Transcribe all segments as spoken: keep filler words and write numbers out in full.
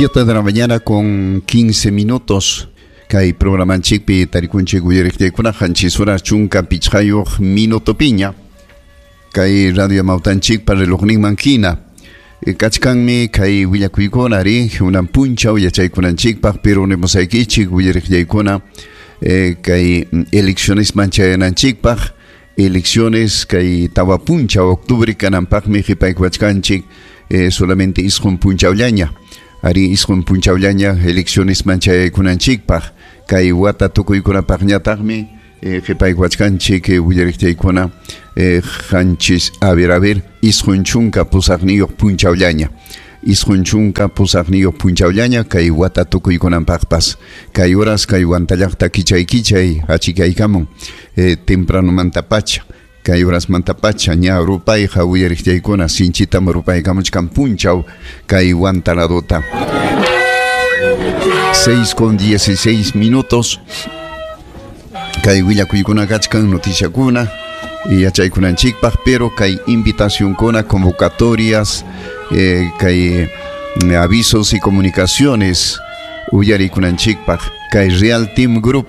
Siete de la mañana con quince minutos. Kay programanchikpi tarikunchik uyariqtiykuna qanchis horas chunka pichqayuq minuto piña. Kay radio Amawtanchikpa relojninman hina. Kachkanmi kay willakuykuna ari unan punchaw yachaykunanchikpaq, pero nimusaykichik uyariqllaykuna eh, kay elecciones chayananchikpaq, elecciones kay tawa punchaw octubre kananpaqmi qhipaykuwachkanchik eh, solamente isqun punchawllaña. Ari isqun punchawllaña elecciones manchaykunanchikpaq, kay wata tukuykunapaqñataqmi eh, qhipaykuwachkanchik eh, willariqtiykuna eh, qanchis a ver a ver isqun chunka pusaqniyuq punchawllaña. Isqun chunka pusaqniyuq punchawllaña kay wata tukuykunanpaqpas. Kay horas kay wantallaqta kichay kichay achikaykamun eh, tempranomantapacha. Kay horasmantapacha ña rupayqa uyariqtiykuna sinchitam rupaykamuchkan punchaw kay wantaladota. Seis con dieciséis minutos. Kay willakuykuna kachkan noticiakuna yachaykunanchikpaq, pero kay invitacionkuna, convocatorias, eh, kay eh, avisos y comunicaciones uyarikunanchikpaq. Kay Real Team Group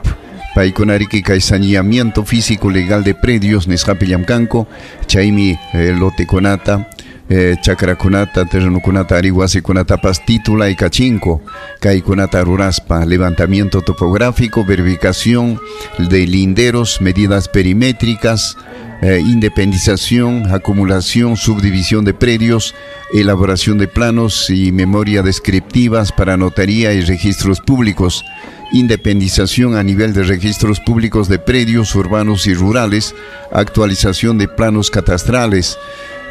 paykunariki kay saneamiento físico legal de predios nisqapi llamkanku, chaymi eh, lotekunata, eh, chakrakunata, terrenokunata, ari wasikunatapas titulaykachinko kaykunata ruraspa, levantamiento topográfico, verificación de linderos, medidas perimétricas, eh, independización, acumulación, subdivisión de predios, elaboración de planos y memoria descriptivas para notaría y registros públicos, independización a nivel de registros públicos de predios urbanos y rurales, actualización de planos catastrales,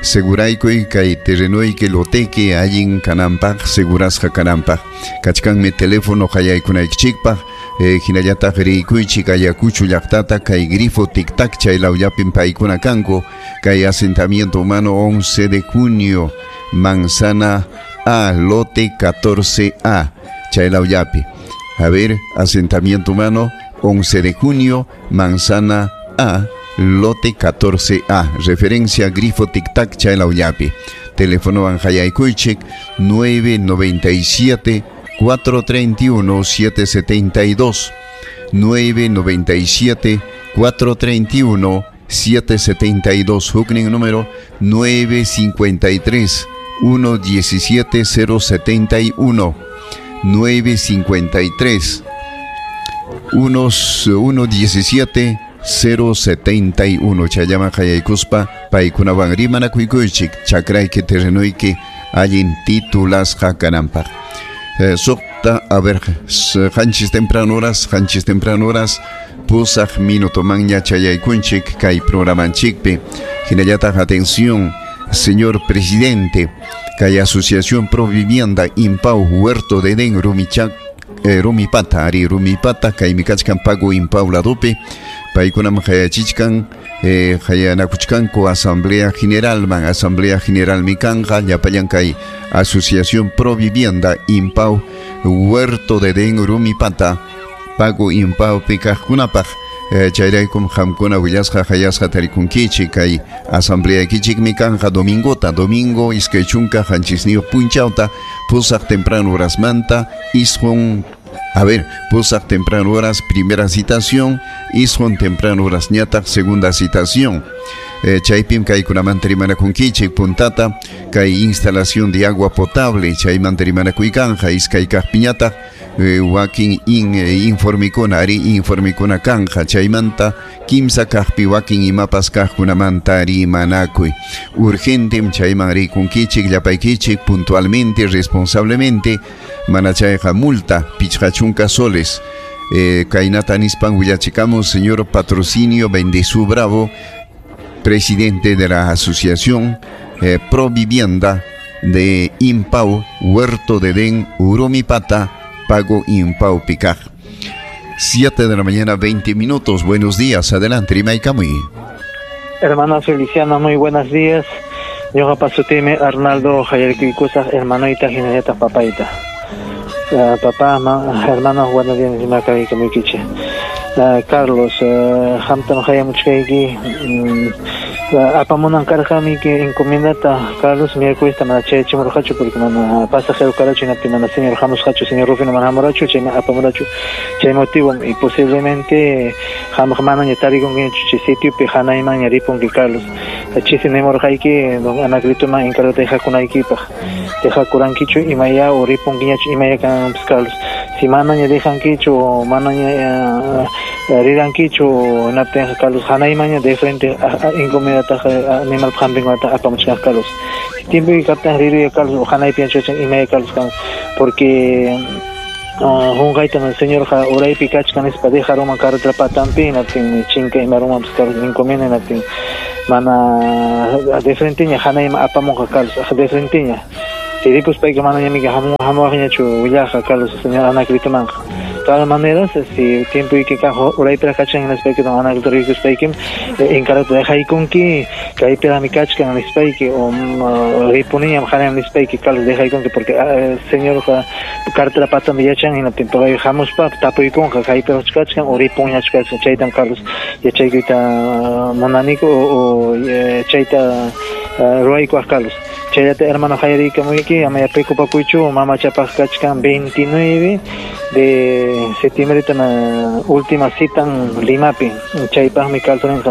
seguraykuy kay terrenoyki loteki allin kananpaq, segurasqa kananpaq. Kachkanmi teléfono qayaykunaykichikpaq, eh, hinallataq riykuychik Ayacucho llaqtata kay grifo tic-tac chay lawllapin paykuna kanku, kay asentamiento humano once de junio, manzana A, lote catorce A, chay lawllapi. A ver, asentamiento humano once de junio, manzana A, lote catorce A, referencia grifo tic-tac chaylawllapi. Teléfono anjayaykuychik nueve noventa y siete, cuatro treinta y uno, siete setenta y dos, nueve noventa y siete, cuatro treinta y uno, siete setenta y dos, huknin número nueve cincuenta y tres, uno diecisiete, cero setenta y uno, nueve cincuenta y tres, uno diecisiete, cero setenta y uno. Chayama hayaykuspa paykunawan rimanakuychik chakrayki terrenoyki allin titulasqa kananpaq. Eh, suqta, a ver, qanchis temprano horas, qanchis temprano horas, pusaq minuto manña chayaykunchik kay programanchikpi. Hinallataq, atención, señor presidente, kay Asociación Pro Vivienda Impau Huerto de Edén Rumichac, eh, Rumipata, ari Rumipata, kay mikachkan pago Impau ladopi, paykunam hayachichkan, eh, hayanakuchkanku Asamblea General man, Asamblea General mikanja, llapallan kay Asociación Pro Vivienda Impau Huerto de Edén Rumipata, pago Impau pikajkunapaq. Eh, chayraykum qamkuna willasqa hayasqa tarikunkichik kay asamblea kichik mikanja domingota, domingo iskay chunka qanchisniyuq punchawta, pusaq temprano horasmanta, isqun, a ver, pusaq temprano horas primera citación, isqun temprano horas ñataq segunda citación. Eh, chaypim kaykunamanta rimanakunkichik puntata kay instalación de agua potable chaymanta rimanakuykanja iskay kaqpiñataq eh, wakin in, eh, informikuna ari informikuna kanja chaymanta kimsa kaqpi wakin imapas kaqkunamanta rimanakuy urgentem chayman rikunkichik llapaykichik puntualmente responsablemente mana chayqa multa pichqa chunka soles. Eh, kaynata nispan willachikamos señor Patrocinio Bendezú Bravo, presidente de la Asociación eh, Pro Vivienda de Impau, Huerto de Edén, Urumipata, Pago Impau Picaj. Siete de la mañana, veinte minutos. Buenos días. Adelante, Rimay Camuy. Hermano Feliciano, muy buenos días. Yo pasutime Arnaldo Jayarquicusas, hermanoita, jinayata, papaita. Uh, papá, ma, hermanos, buenos días, Rimay Camuy. Uh, Carlos, uh, hamtam hayamuchkayki, um, Apamunan karqami que encomiendata Carlos miércoles mana chayachimurqachu porque mana pasajero karachu hinaptin mana señor hamusqachu señor Rufino mana hamurachu chaymi apamurachu chay motivo y posiblemente hamuq manaña tarikunkiñachu chay sitiopi hanaymanña ripunki Carlos. Chisi nimurqayki don Anaclitoman encargata dejakunaykipaq dejakurankichu imaya o ripunkiñachu imaya kananpas Carlos. Si manaña dejankichu o manaña rirankichu hinaptinqa Carlos hanaymanña de frente encomiendata animal hampinkunata apamuchkan Carlos. Tiempo kaptan riruya Carlos hanaypi anchachan imaya Carlos kan porque hunqayta señorqa uraypi kachkan nispa dejaruman carretera patanpi hinaptin chinka imarumanpas Carlos encomienda hinaptin mana de frenteña hanayman apamunqa Carlos de frenteña. Si ripuspayqa manañamiki hamuwaqñachu willaqa Carlos señor Anaclitomanqa. Todas maneras, si tiempo y que uraypiraq kachkan hinaspayki don Anaclito rikuspaykim encargata dejaykunki kaypiraqmi kachkan nispayki o ripuniñam hanayman nispayki Carlos dejaykunki porque señorqa cartera patanpi yachan hinaptin pay hamuspa tapuykunqa kaypiraqchu kachkan o ripunñachu kachkan chaytam Carlos yachaykuyta munaniku o chayta ruwaykuaq Carlos. Chayllata hermano hayarikamuyki amaya preocupakuychu mamachapaq kachkan veintinueve de septiembre na última cita Limapi chaypaqmi Carlos rinqa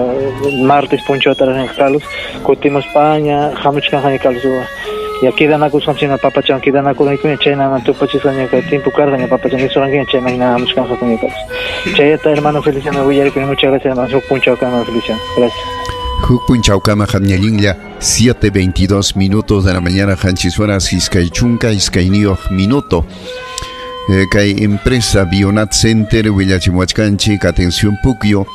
martes punchawtaraq rinqa Carlos kutimuspaña hamuchkanqaña Carlos ya quedanakusqanchik papachan quedanakuraykuña chaynaman tupachisqaña kay tiempo karqaña papachan nisurqankiña chayman hina hamuchkanqakuña Carlos. Chayllata hermano Feliciano willarikuni muchas gracias hermano huk punchawkama hermano Feliciano gracias. Huk punchawkama qamñallinlla siete veintidós minutos de la mañana qanchis horas iskay chunka iskayniyuq minuto. Eh, kay empresa Bionat Center willachimuwachkanchik atención Pukyo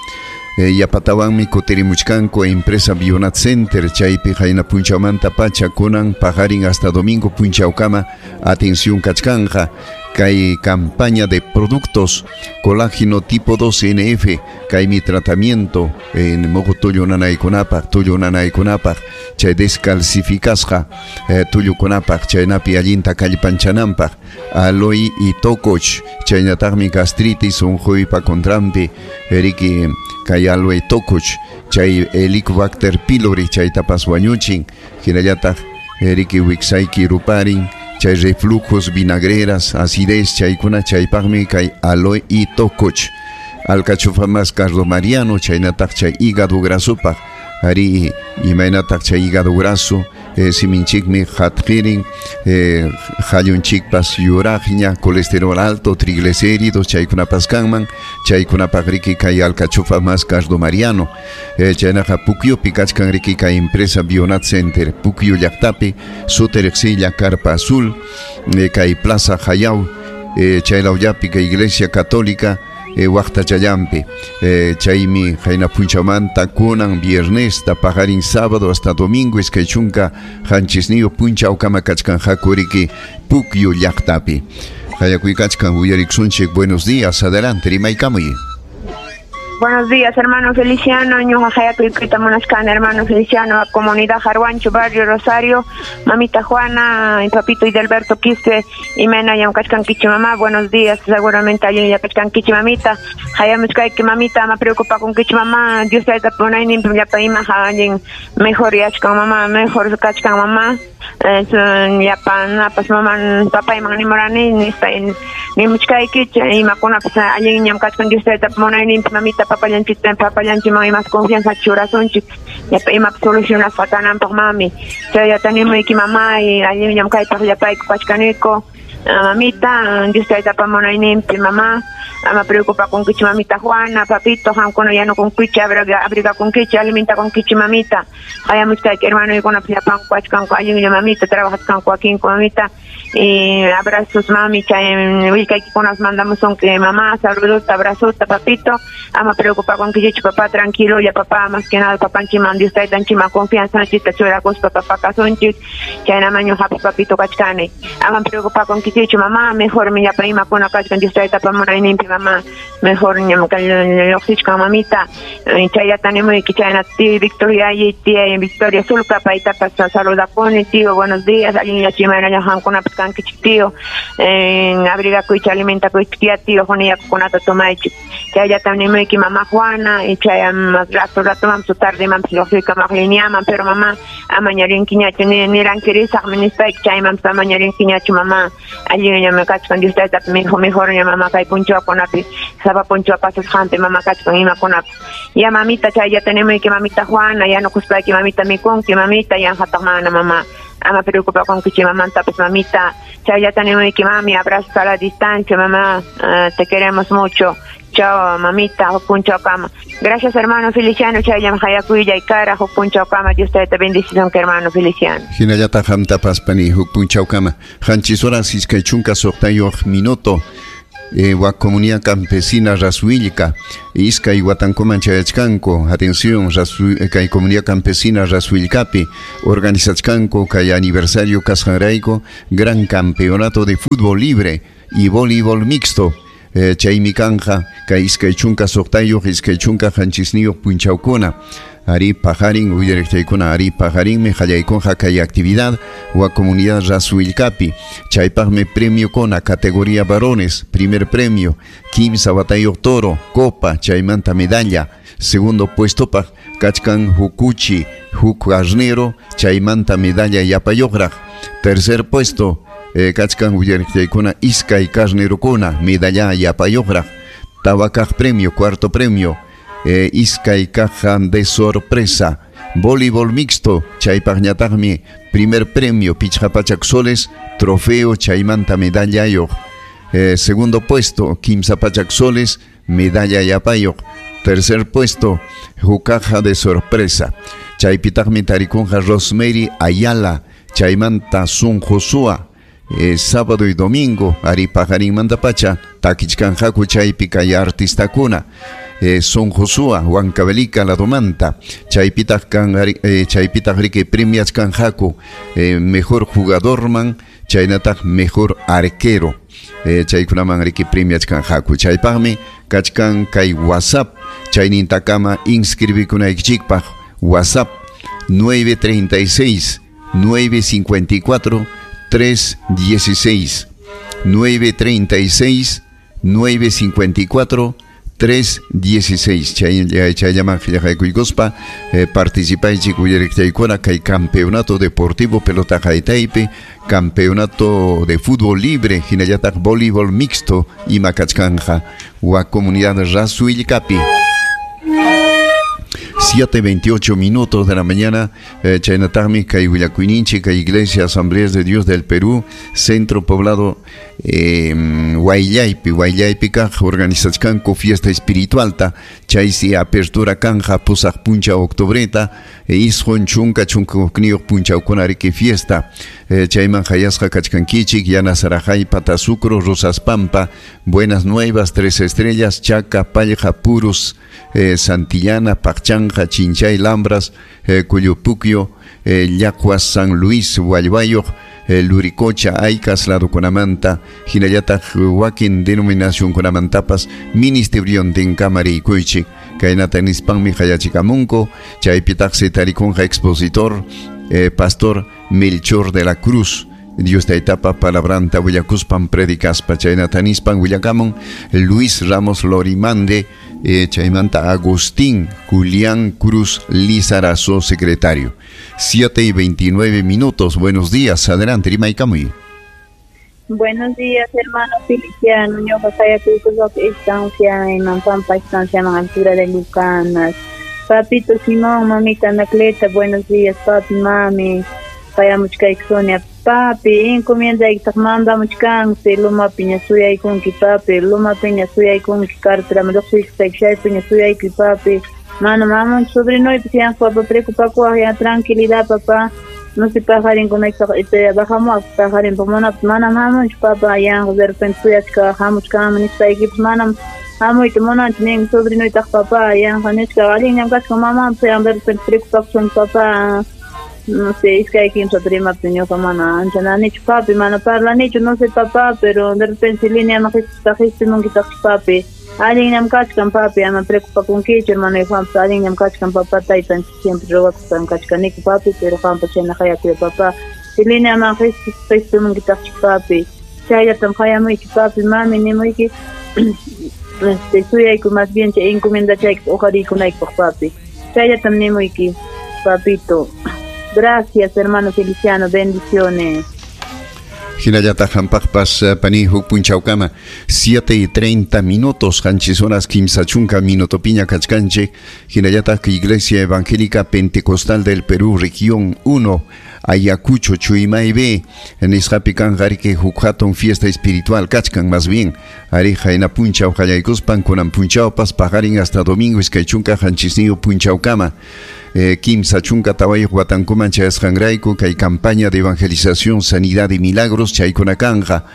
eh, yapatawanmi kutirimuchkanku empresa Bionat Center chaypi qayna punchawmanta pacha kunan paqarin hasta domingo punchawkama atención kachkanja kay campaña de productos colágeno tipo dos N F kay mi tratamiento en mojo tullu nanaykunapaq tullu nanaykunapaq chay descalcificasqa eh, tullukunapaq chaynapi allinta kallpanchananpaq aloe y tococh chaynataqmi gastritis unquypa contranpi riki kay aloe tococh chay Helicobacter pylori chaytapas wañuchin hinallataq riki wiksayki ruparin chay reflujos, vinagreras, acidez, chaykuna chaypaqmi kay aloe y tococh alcachofa más cardo mariano chaynataq chay hígado grasopaq ari imaynataq chay hígado graso eh, siminchikmi hatqirin eh, hallunchikpas yuraqña colesterol alto, triglicéridos chaykunapas kanman chaykunapaq riki kay alcachofa más cardo mariano eh, chaynaqa Pukyupi kachkan riki kay empresa Bionat Center Pukyu llaqtapi suteriqsilla Carpa Azul eh, kay Plaza Jayaw eh, chaylawllapi kay Iglesia Católica Eh, waqtachallampi eh, chaymi qayna punchawmanta kunan viernes ta paqarin sábado hasta domingo iskay chunka qanchisniyuq punchawkama kachkanqaku riki Pukyu llaqtapi qayakuykachkan uyariksunchik. Buenos días, adelante rimaykamuy. Buenos días, hermano Feliciano. Ñuqa hayakuykuyta munashkani, hermano Feliciano, comunidad Jarwancho, barrio Rosario, mamita Juana, y papito Idalberto Quispe, y mena yamkachkankichi mamá. Buenos días, seguramente allin yachkankichi mamita. Hayamuchkayki mamita, ama preocupakunkichi mamá. Dios tayta punayninpi llapa ima allin mejor yachkan mamá, mejor kachkan mamá. Llapa napas mamá papayman nimurani nispa nimuchkayki imakunapas allin ñamkachkan Dios tayta munayninpi mamita papallanchik papallanchikman imas confianza churasunchik llapa imapas solucionasqa kananpaq mami chayllata nimuyki mamá y allin llamkaypaq llapayku kachkaniku mamita Dios taytapa munayninpi mamá ama preocupakunkichi mamita Juana papito qamkuna yanukunkichi abrigakunkichi alimentakunkichi mamita hayamuchkayki hermanoykunapas llapanku kachkanku allinlla mamita trabajachkanku wakinku mamita y abrazos mami chay willkaykikunas mandamusunki mamá saludos abrazos papito ama preocupakunkichichu papá tranquilo ya papá más que nada papanchiman Dios taytanchiman confianzanchikta churakuspa papá kasunchik chaynaman ñuqapas papito kachkani ama preocupakunkichichu mamá mejor mi llapa imakuna kachkan Dios taytapa munayninpi mamá mejor lluqsichkan mamita chayllata nimuyki chayna tío Victoria y tía Victoria Sulca paytapas saludakuni tío buenos días allinlla chimayna qamkunapas kankichik tío, en abrigakuychik alimentakuychik ya tío, huniyakukunata tomaychik. Chayllatam nimuyki mamá Juana, y chayam rato rato mam su tarde mam lluqsiykamaq lineaman, pero mamá amaña rinkiñachu ni nirankirisaqmi nispayki chaymanpas amaña rinkiñachu mamá, allinñam kachkan Dios taytapi mejor mejorña mamá kay punchawkunapi sapa punchaw pasasqanpi mamá kachkan imakunapi. Ya mamita chayllata nimuyki mamita Juana, ya no kuspayki mamita mikunki mamita, yanqataq mana mamá. Ama preocupakunkichik mamantapas mamita, chayllata nimuyki mami, abrazos a la distancia mamá, uh, te queremos mucho. Chao mamita, huk punchawkama. Gracias hermano Feliciano, chayllam hayakuylla kara huk punchawkama. Dios te bendición que hermano Feliciano. Hinallata qamtapas pani huk punchawkama. Qanchis horas iskay chunka suqtayuq minuto. Eh, wa comunidad campesina Rasuilca, iskay watankuman chayachkanku, atención, Rasu, kay comunidad campesina Rasuilcapi, organizachkanku kay aniversario kasqanrayku, gran campeonato de fútbol libre y voleibol mixto. Eh, chaymi kanja kay iskay chunka suqtayuq iskay chunka qanchisniyuq punchawkuna. Ari pajarin uyariqchaykuna ari pajarinmi qallaykunqa kay actividad wa comunidad Rasuilcapi. Chaypaqmi premio kona categoría varones, primer premio kimsa watayuq toro, copa, chaymanta medalla. Segundo puesto paq kachkan hukuchi, huk carnero, chaymanta medalla yapayuqraq. Tercer puesto eh, kachkan uyariqchaykuna iskay carnerokuna, medalla yapayuqraq. Tawakaq premio, cuarto premio Eh, iskay caja de sorpresa. Voleibol mixto, chaypaqñataqmi primer premio pichqa pachak soles, trofeo chaymanta medalla yoq. Eh, segundo puesto kimsa pachak soles, medalla yapayuq. Tercer puesto hukaja de sorpresa. Chaypitaqmi tarikunqa Rosemary Ayala, chaymanta Sun Josua. Eh, sábado y domingo ari pajarinmanta pacha takichkanqaku chaypi kay artistakuna. Eh, Son Josua, Huancavelica, La Domanta, chaypitaq kan eh, chaypitaq riki premiachkanqaku eh, mejor jugadorman, chaynataq mejor arquero. Eh, chaykunaman riki premiachkanqaku. Chaypaqmi kachkan kay WhatsApp, chaynintakama inscribikunaykichikpaq WhatsApp nueve treinta y seis, nueve cincuenta y cuatro, tres dieciséis, nueve treinta y seis, nueve cincuenta y cuatro, tres dieciséis. Chayllaman qillqaykuykuspa eh, participaychik uyariqchaykuna kay campeonato deportivo pelota haytaypi, campeonato de fútbol libre, hinallataq voleibol mixto ima kachkanja wa comunidad Rasuilcapi. siete veintiocho minutos de la mañana, eh, chaynataqmi kay willakuyninchik kay Iglesia Asambleas de Dios del Perú, Centro Poblado eh, Huayllaypi, Huayllaypi kaq organizachkanku fiesta espiritualta, chaysi apertura kanja pusaq puncha octubreta, e isqun chunka chunka hukniyuq punchawkuna riki fiesta, eh, chayman hayasqa kachkankichik, Yanasarajay, Patasucro, Rosas Pampa, Buenas Nuevas, Tres Estrellas, Chaca, Pallja, Purus, eh, Santillana, Paqchanja, Chinchay, Lambras, eh, Cuyupuquio, eh, Yacuas, San Luis, Hualbayuq, eh, Luricocha, Aycas, ladukunamanta, hinallataq wakin denominacionkunamantapas ministeriontin kamarikuychik. Kaynata nispanmi hayachikamunku, chaypitaqsi tarikunqa expositor, eh, pastor Melchor de la Cruz. Dios taytapa palabranta willakuspan predicaspa chaynata nispan willakamun Luis Ramos Lorimande, eh, chaymanta Agustín Julián Cruz Lizarazo, secretario. siete y veintinueve minutos. Buenos días, adelante, rimaykamuy. Buenos días, hermano Feliciano. Estancia en Mampampa, estancia en altura de Lucanas. Papito Simón, mamita Anacleta, buenos días, papi, mami. Payamuchkaykusonia, papi, encomienda mandamuchkansi, luma piña suyaykunki, papi, luma piña suyaykunki, cartera, lluqsiykusayki, suyayki, papi. Mano, mamá, sobrinoypis yanqa, preocupakuwaq, ya tranquilidad, papá. No se pajarinkunaypaq, bajamos pajarinpaq, mana, mana mamunchu, papá, yanqa, de repente suyachka, hamuchkanman nispaykipas, manam hamuyta munanchu nin sobrinoytaq, papá, yanqa nichka, allinñam kachkan mamanpas, yan de repente preocupakusun, papá. No sé, es que hay quien se prima ñuqa mana ancha nanichu papi, mana parlanichu, no sé papá, pero de repente línea ma qhispimunkitaqchu papi. Allinñam kachkan papi, ama preocupakunkichu, hermano y Juanpa, allinñam kachkan papá, taytanchik siempre rogakuspan kachkaniku papi, pero Juanpa chayna hayakuya papá. Lineaman qispimunkitaqchik papi. Chayllatam qayamuyki papi, mami nimuyki. Este, suyayku más bien chay encomiendachayki uqariykunaykipaq papi. Chayllatam nimuyki, papito. Gracias, hermano Feliciano, bendiciones. Hinallataq hampaqpas pani huk punchawkama siete y treinta minutos qanchis horas kimsa chunka minutopiña kachkanchik. Hinallataq Iglesia Evangélica Pentecostal del Perú, región uno, Ayacucho, Chuimaybe, nisqapi kanqa riki huk hatun fiesta espiritual kachkan más bien. Ari hayna punchaw qallaykuspan kunan punchawpas paqarin hasta domingo iskay chunka qanchisniyuq punchawkama. Eh, kimsa chunka tawayuq watankuman chayasqanrayku kay campaña de evangelización, sanidad y milagros chaykuna kanja.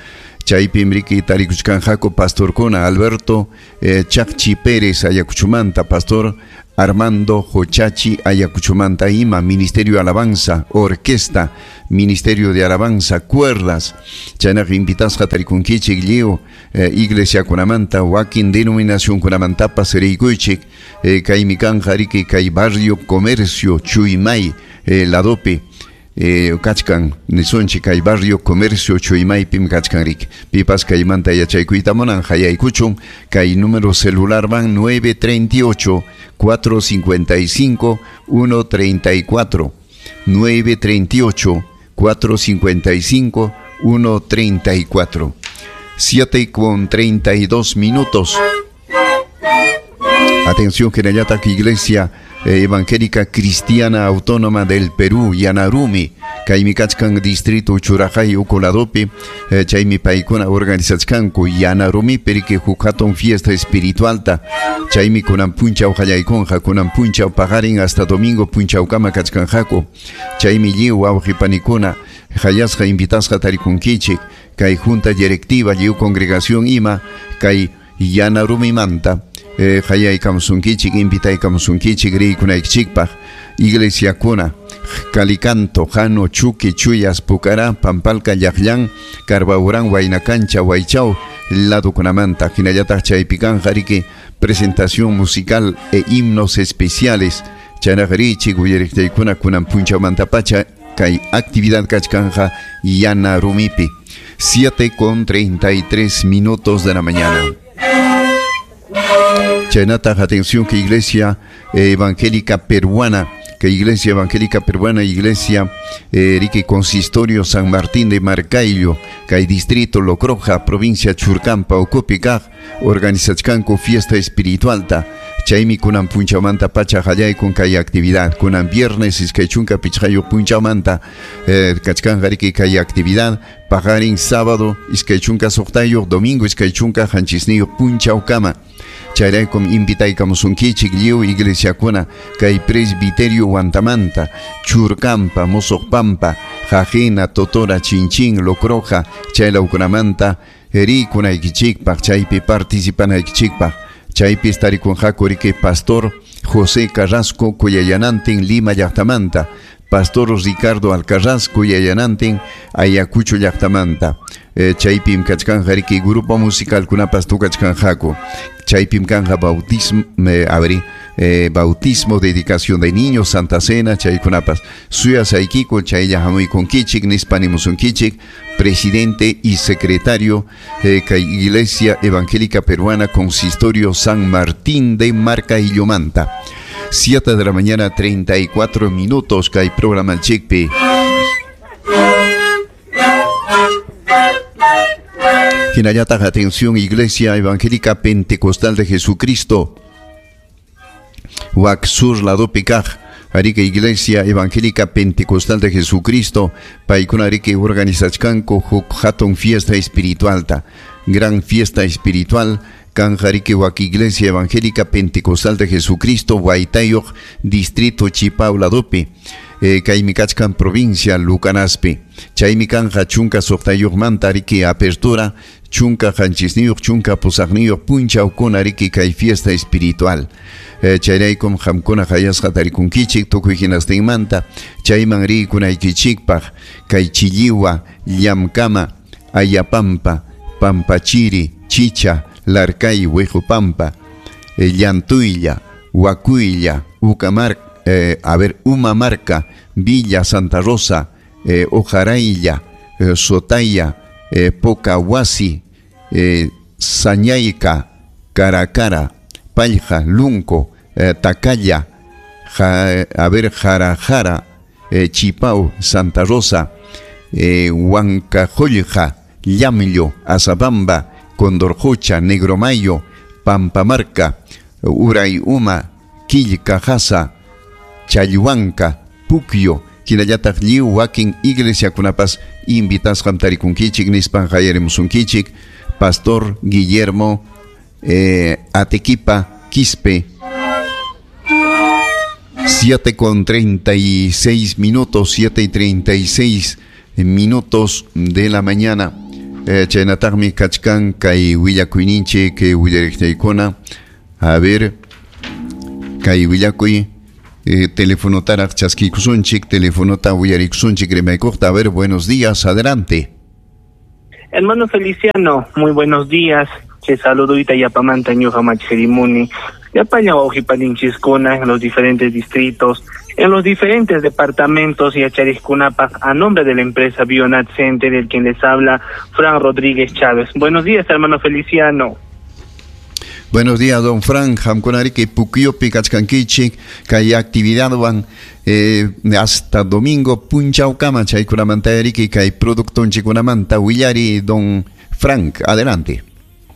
Chaypim riki tarikuchkanqaku pastorkuna Alberto eh, Chacchi Pérez Ayacuchumanta, pastor Armando Jochachi Ayacuchumanta ima, Ministerio Alabanza, Orquesta, Ministerio de Alabanza, Cuerdas. Chaynaqa invitasqa tarikunkichik lliw eh, iglesia kunamanta, wakin denominación kunamantapas riykuychik. Eh, kaymi kanja riki kay barrio Comercio Chuymay eh, ladopi. Eh, kachkan nisunchik kay barrio Comercio Chuymaypim kachkan riki. Pipas kaymanta yachaykuyta munan hayaykuchun kay número celular van nueve treinta y ocho, cuatro cincuenta y cinco, uno treinta y cuatro, nueve treinta y ocho, cuatro cincuenta y cinco, uno treinta y cuatro. siete con treinta y dos minutos. Atención, Jerayata, Iglesia Evangélica Cristiana Autónoma del Perú, Yanarumi, Kaimikachkan Distrito Churajay Ukoladopi, Chaymi paykuna organizachkanku Yanarumi perike huk hatun fiesta espiritualta, chaymi kunan punchaw qallaykunqa, kunan punchaw paqarin hasta domingo punchawkama kachkanqaku, chaymi lliw wawqipanikuna hayasqa invitasqa tarikunkichik, kay junta directiva lliw congregación ima, kay Yanarumimanta. Eh, hayaykamusunkichik, invitaykamusunkichik riykunaykichikpaq. Iglesiakuna, Calicanto, Jano, Chuqui, Chuyas, Pucará, Pampalca, Llaqllan, Carbaurán, Huaynacancha, Huaychao, ladokunamanta. Hinallataq chaypikanqa riki presentación musical e himnos especiales. Chaynaqa riyichik uyariqtaykuna kunan punchawmantapacha kay actividad kachkanja Yanarumipi. siete con treinta y tres minutos de la mañana. Chaynataq, atención que Iglesia Evangélica Peruana, que Iglesia Evangélica Peruana, Iglesia eh, Rique Consistorio San Martín de Marcaillo, kay Distrito Locroja, provincia Churcampa, Ocopicac, organizachkanku fiesta espiritualta. Chaymi kunan punchawmanta pacha hallaykun kay actividad. Kunan viernes iskay chunka pichqayuq punchawmanta eh, kachkanqa riki kay actividad. Paqarin sábado iskay chunka suqtayuq, domingo iskay chunka qanchisniyuq punchawkama. Chayraykum invitaykamusunkichik lliw iglesiakuna kay presbiterio Huantamanta, Churcampa, Mosoqpampa, Jajena, Totora, Chinchín, Locroja, chaylawkunamanta rikunaykichikpaq, chaypi participanaykichikpaq. Chaypi tarikunqaku riki pastor José Carrasco Cuyayanantin, Lima llaqtamanta, pastor Ricardo Alcarraz Cuyayanantin, Ayacucho llaqtamanta. Eh, chaypim kachkanja riki grupo musical kunapas tukachkanjaku. Chaypim kanja bautismo, eh, abri, eh, bautismo, dedicación de niños, Santa Cena, chaykunapas. Suyasaykiko, chaylla hamuykunkichik, nispanimusunkichik, presidente y secretario eh, kay Iglesia Evangélica Peruana, Consistorio San Martín de Marcaillomanta. siete de la mañana, treinta y cuatro minutos, kay programa Chikpi. Hinayataq, atención, Iglesia Evangélica Pentecostal de Jesucristo, Huac Sur Ladopicaj, Arica Iglesia Evangélica Pentecostal de Jesucristo, paykuna ariki organizachkanku huk hatun fiesta espiritualta, gran fiesta espiritual, kanja ariki Huac Iglesia Evangélica Pentecostal de Jesucristo, Huaytayoq, Distrito Chipao Ladopi, eh, kaymi kachkan provincia Lucanaspi. Chaymi kanja chunka suqtayuqmanta ariki apertura, chunka qanchisniyuq, chunka pusaqniyuq punchawkuna ariki kay fiesta espiritual. Eh, chayraykum qamkuna hayasqa tarikunkichik tukuy hinastinmanta, chayman riykunaykichikpaq kay Chilliwa, Llamkama, Ayapampa, Pampachiri, Chicha, Larcay, Huejupampa, eh, Llantuylla, Huacuylla, Ucamar, eh, a ver, Umamarca, Villa Santa Rosa, eh, Ojaraylla, eh, Sotaya, eh, Pocahuasi, eh, Sañayca, Caracara, Palja, Lunco, eh, Tacaya, ja, a ver, Jarajara, eh, Chipao, Santa Rosa, eh, Huancajollja, Llamillo, Azabamba, Condorjocha, Negromayo, Pampamarca, Urayuma, Quillcajasa, Chayhuanca, Puquio, hinallataq lliw wakin iglesiakunapas invitasqam tarikunkichik nispan qayarimusunkichik Pastor Guillermo eh, Atequipa Quispe. Siete con treinta y seis minutos, siete y treinta y seis minutos de la mañana. Eh, chaynataqmi kachkan kay willakuyninchik kay willariqtaykuna. A ver, kay willakuy eh, telefonotaraq chaskiykusunchik, telefonota willarikusunchik rimaykuqta. A ver, buenos días, adelante. Hermano Feliciano, muy buenos días. Che saludo yapamanta ñuqa machjerimuni. Yapaña wawqipaninchiskuna en los diferentes distritos, en los diferentes departamentos y achariskunapaq a nombre de la empresa Bionat Center, el quien les habla, Fran Rodríguez Chávez. Buenos días, hermano Feliciano. Buenos días, don Fran. Hamkunariki Puquiopi kachkankichik kay actividadwan eh, hasta domingo punchawkama chaykunamanta kay productonchikunamanta willari, don Frank. Adelante.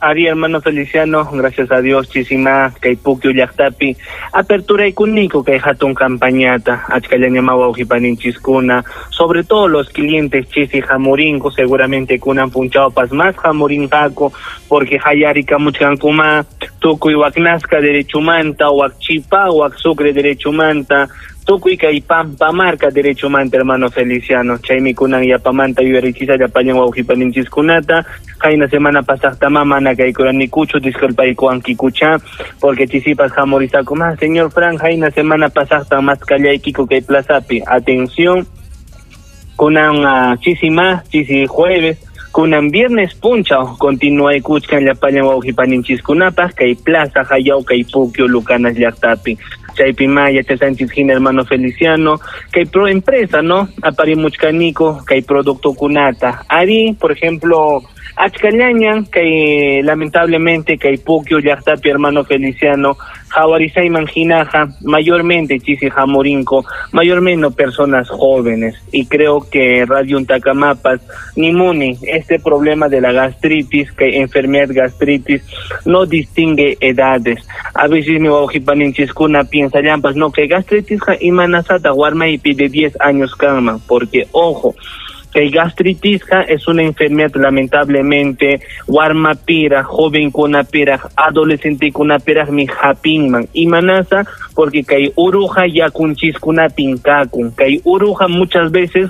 Ari, hermano Feliciano, gracias a Dios, chisima, kay Puquio llaqtapi, apertura ikuniko kay hatun campañata, achkallaña wawqipaninchiskuna, sobre todo los clientes chisi jamurinko, seguramente kunan punchawpas más jamurinqaku, porque hayarikamuchkankuma, tukuy waknasqa derechumanta, wakchipa, wak sucre derechumanta, tukuy kay Pampamarca derechumanta, hermano Feliciano. Chaymi kunan yapamanta yuyarichisa llapallan wawqipaninchishkunata. Qayna semana pasaqtama mana kaykuranikuchu, disculpaykuwankikucha, porque chisipas hamurisaku más. Señor Fran, qayna semana pasaqta más kallaykiku kay plazapi. Atención, kunan uh, chisima, chisi jueves, kunan viernes punchaw, continúa ikuchkan llapallan wawqipaninchishkunapaq kay plaza hayaw kay Puquio Lucanas llaqtapi. Chaypi ma yachachanchis hina, hermano Feliciano, kay pro empresa, ¿no? Aparimuchkaniko kay producto kunata. Ari, por ejemplo, achkallañan kay lamentablemente kay Puquio llaqtapi, hermano Feliciano, jawarisayman hinaja, mayormente chisi jamurinko, mayormente personas jóvenes. Y creo que Radio Untacamapas, Nimuni, este problema de la gastritis, que enfermedad gastritis, no distingue edades. A veces mi wawqipaninchiskuna piensa llampas, no, que gastritis imanasata warma y pide diez años cama, porque ojo, que gastritis es una enfermedad lamentablemente warma pira, joven kuna pira, adolescente kuna pira mi japinman imanasa, porque kay uruja yakunchiskuna pinkakun, kay uruja muchas veces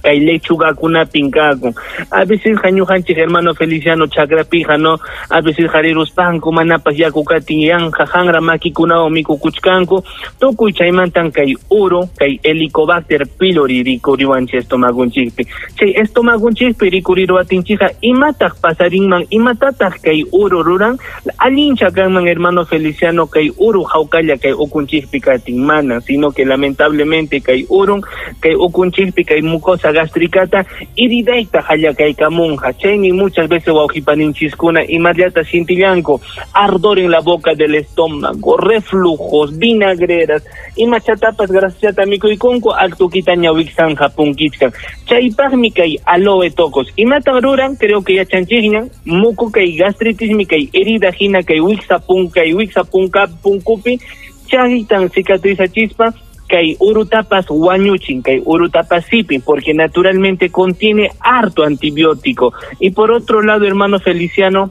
kay lechuga kuna pinkakun. A veces jañujanchik, hermano Feliciano, chakrapija, no, a veces jariruspanku manapas yakukatin yanja janra makikunawan mikukuchkanku, tukuy chaymantan kay uru, kay Helicobacter pylori rikuriwanchik estomagunchikpi. Chay estomagunchikpi rikuriruwatinchikqa imataq pasarinman, imatataq kay uru ruran, allincha kanman, hermano Feliciano, kay uru hawkalla kay ukunchikpi katin, mana, sino que lamentablemente kay urun, kay ukunchikpi kay mucosa gastricata iridayta hallakaykamunqa. Chaymi muchas veces wawqipaninchiskuna imallata sintillanku, ardor en la boca del estómago, reflujos, vinagreras, imachatapas grasachata mikuykunku, altukitaña wiksanja punkichkan. Chaypaqmi kay aloe tocos. Imatan ruran, creo que yachanchikñan, muku kay gastritismi kay herida hina kay wiksa kay wiksa punka punkupi, chaytan cicatrizachispa kay urutapas wañuchin, kay urutapas sipin, porque naturalmente contiene harto antibiótico. Y por otro lado, hermano Feliciano,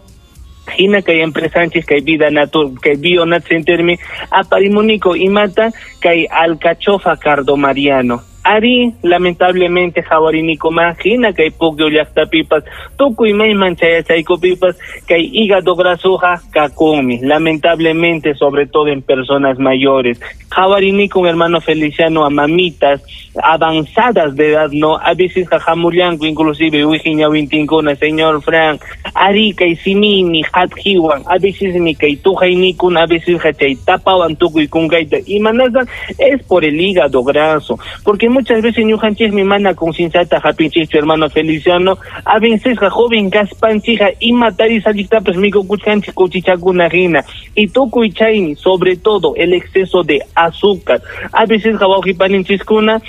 hina kay empresanchis kay vida natur kay Bionat Centermi aparimunico imata kay alcachofa cardomariano. Ari, lamentablemente, jawariniko ma, hina kay Puquio llaqtapipas, tukuy mayman chayachaykupipas, kay hígado grasuja kakunmi, lamentablemente, sobre todo en personas mayores. Qhawarini con hermano Feliciano a mamitas avanzadas de edad, no, a veces jajamullanku inclusive wijiñawintinkuna, señor Frank, ari kay simini hatjiwan, a veces mi kay tujaynikun, a veces chay tapawan tukuy kunkayta, imanastan es por el hígado graso, porque muchas veces ñuqanchikmi mana concienciata hapinchikchu, hermano Feliciano, a veces joven kaspanchija ima tarisalliktapas mikukuchkanchik kuchichakuna hina, y tukuy chaymi, sobre todo el exceso de azúcar, a veces wawqipaninchiskuna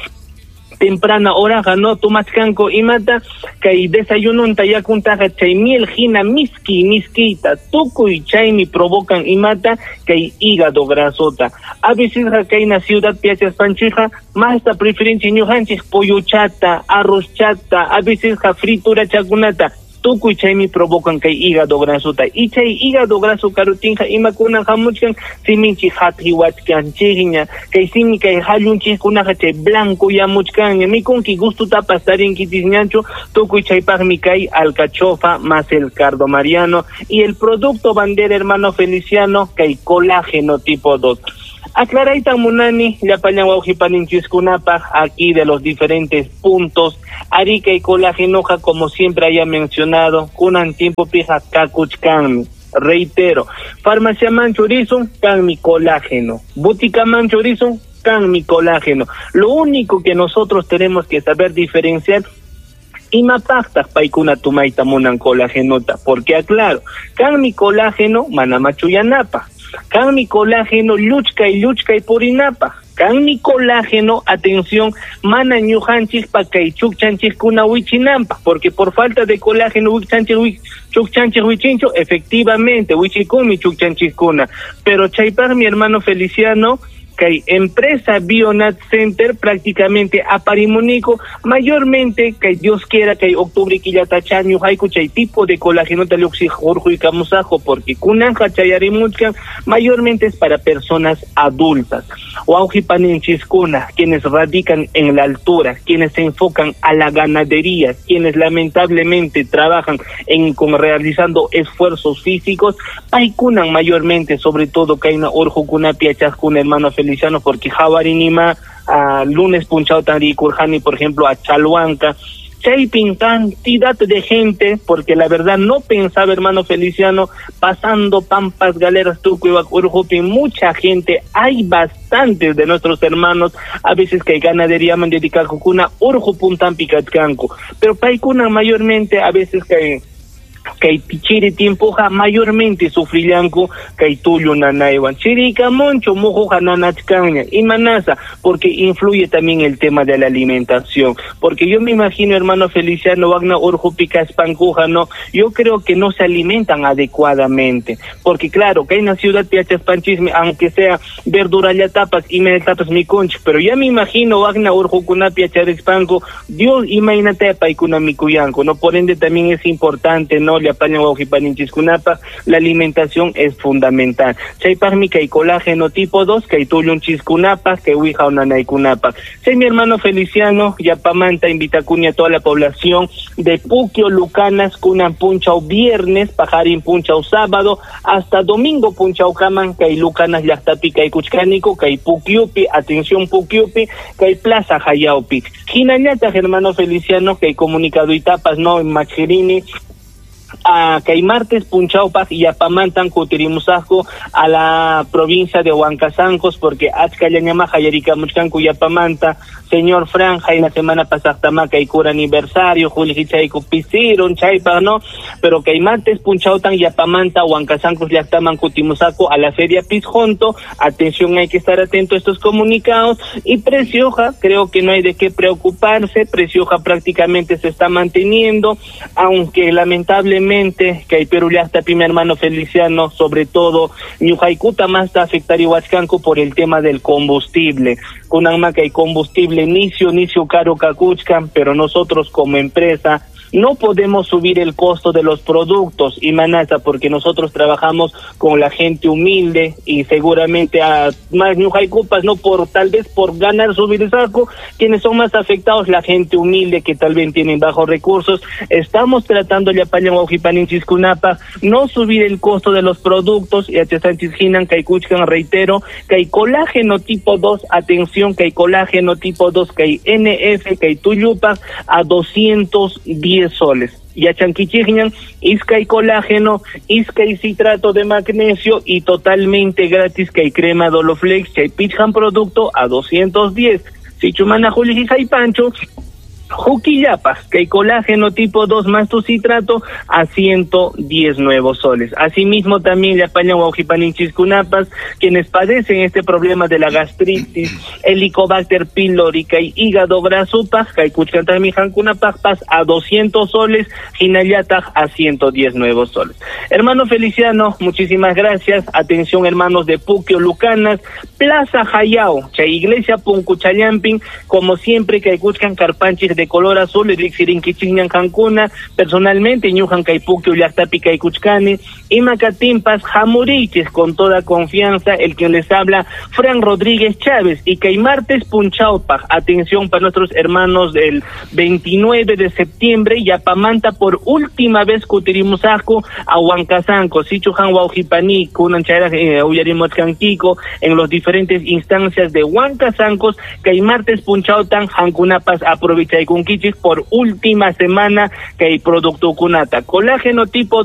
temprana hora no tomachkanku imata kay desayununta yakuntaqa chay miel hina miski miskita tukuy chaymi provocan imata kay hígado grasota. A veces kayna ciudad piachaspanchija masta preferencia ñuqanchik pollochata, arrozchata, a veces fritura chakunata, tukuy chaymi provocan kay hígado grasota. Y chay hígado graso karutinja imakuna hamuchkan siminchik hathiwachkanchikña, kay simi kay hallunchikkunaqa chay blanco yamuchkanña, mikunki gustutapas tarinkitisñanchu, tukuy chaypaqmi kay alcachofa más el cardo mariano y el producto bandera, hermano Feliciano, kay colágeno tipo dos. Aclaraytan munani llapallan wawqipaninchikkunapaq aquí de los diferentes puntos. Arica y colágenoja, como siempre haya mencionado, kunan tiempo pija kakuchkanmi. Reitero, farmacia manchurizo, kan mi colágeno. Butica manchurizo, kan mi colágeno. Lo único que nosotros tenemos que saber diferenciar imapaqtaq paykuna tumayta munan colágenota, porque aclaro, kan mi colágeno mana machuyanapaq, kan mi colágeno lluchkay lluchkay purinapaq, kan mi colágeno, atención, mana ñuqanchikpa kay chukchanchikkuna wichinanpaq, porque por falta de colágeno wichanchik chukchanchik wichinchu, efectivamente wichikunmi chukchanchikkuna, pero chaypaq mi hermano Feliciano, kay empresa Bionat Center prácticamente aparimunico, mayormente que Dios quiera que octubre quillatacha ñuqayku chay tipo de colágeno taluxi hurquykamusajo, porque kunanja chayarimuchkan mayormente es para personas adultas. Wawqipaninchiskuna, quienes radican en la altura, quienes se enfocan a la ganadería, quienes lamentablemente trabajan en con realizando esfuerzos físicos, paykunan mayormente, sobre todo kayna urqukunapi yachaqkuna, hermano Feliciano, porque jawarinima a lunes punchao tarikurjani, por ejemplo, a Chalhuanca, chaypin cantidad de gente, porque la verdad no pensaba, hermano Feliciano, pasando pampas, galeras, tukuy, urjupin, mucha gente, hay bastantes de nuestros hermanos, a veces que hay ganadería man dedicar jukuna, urjupuntampi kachkanku, pero paykuna mayormente a veces que kay chiri tiempoja mayormente sufrillanku kay tullu nanaywan chirika moncho mujuja nanachkanña imanasa, porque influye también el tema de la alimentación, porque yo me imagino, hermano Feliciano, wagna urjupi kaspankuja, no, yo creo que no se alimentan adecuadamente, porque claro, que hay una ciudad piachaspanchisme, aunque sea verdura ya tapas y me tapas mi conch, pero ya me imagino wagna urjukuna piacharispanku, Dios imaynate paykuna mikuyanku, no, por ende también es importante, no, la alimentación es fundamental. Chaypaqmi kay colágeno tipo dos, kay tullunchikkunapaq, kay wija unanaykunapaq. Chay mi hermano Feliciano, yapamanta invitakuni a toda la población de Puquio, Lucanas, kunan punchaw viernes, pajarín punchaw sábado, hasta domingo punchaw kaman, kay Lucanas llaqtapi, kay Kuchkanico, kay Puquiupi, atención Puquiupi, kay Plaza Hayaupi. Hinallataq, hermano Feliciano, kay comunicado itapas, no, en Machirini, a kay martes punchawpaq yapamantan kutirimusaqku a la provincia de Huancasancos, porque achkallañama hayarikamuchkanku yapamanta, señor Franja, y la semana pasaqtama kay cura aniversario, juljichayku pisiron chaypaq, no, pero kay martes punchawtan yapamanta Huancasancos llaqtaman kutimusaqku a la feria Pizjonto. Atención, hay que estar atento a estos comunicados. Y Precioja, creo que no hay de qué preocuparse, Precioja prácticamente se está manteniendo, aunque lamentablemente que hay Perú llaqtapi, mi hermano Feliciano, sobre todo ñuqaykuta más afectar iwachkanku por el tema del combustible. Kunanma kay combustible nisio nisio caro kakuchkan, pero nosotros como empresa No podemos subir el costo de los productos, y manasa, porque nosotros trabajamos con la gente humilde y seguramente a más ñuqaykupas, no por tal vez por ganar subir el saco, quienes son más afectados, la gente humilde que tal vez tienen bajos recursos. Estamos tratando llapallan wawqipaninchikkunapaq, no subir el costo de los productos, y Sánchez kay kuchkan, reitero, que hay colágeno tipo dos, atención, que hay colágeno tipo dos, que hay N F, que hay tuyupa a doscientos diez soles. Yachankichikñan, iskay colágeno, iskay citrato de magnesio y totalmente gratis que hay crema Doloflex, chay pichqan producto a doscientos diez. Sichu mana qulliqi haypanchu, huk killapaq, que hay colágeno tipo dos más tu citrato a ciento diez nuevos soles. Asimismo, también llapallan wawqipaninchikkunapas, quienes padecen este problema de la gastritis, Helicobacter pylori, kay hígado grasupaq, kay kuchkantaqmi qamkunapaqpas a doscientos soles, hinallataq a ciento diez nuevos soles. Hermano Feliciano, muchísimas gracias. Atención, hermanos de Puquio, Lucanas, Plaza Jayao, chay Iglesia Punkuchallampin, como siempre, kay kuchkan karpanchik de color azul, riqsirinkichikñan qamkuna, personalmente ñuqan kay Puquio llaqtapi kaykuchkani, ima kaptinpas hamuriychik con toda confianza, el quien les habla, Fran Rodríguez Chávez, y kay martes punchawpaq, atención para nuestros hermanos, del veintinueve de septiembre, yapamanta por última vez kutirimusaqku a Huancasanco, sichu qam wawqipani, kunan chayraq eh, uyarimuchkankiku en los diferentes instancias de Huancasancos, kay martes punchawtan qamkunapas aprovechaykunkichik por última semana kay productokunata. Colágeno tipo dos.